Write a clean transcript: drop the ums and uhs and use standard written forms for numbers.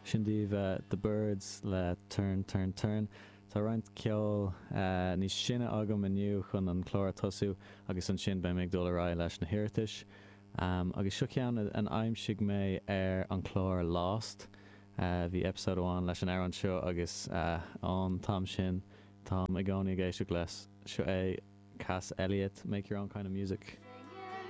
Sin daoibh The Byrds le Turn Turn Turn. Tá roinnt ceoil níos sine agam inniu chun an clár a tosú agus ansin beidh mé ag dul ar aghaidh leis na hiarratais. Agus seo ceann a aimsigh mé ar an chlár Lost. Bhí episode amháin leis an amhrán seo agus ón t-am sin táim i gcónaí ag éisteacht leis. Seo é Cass Elliot, Make Your Own Kind of Music.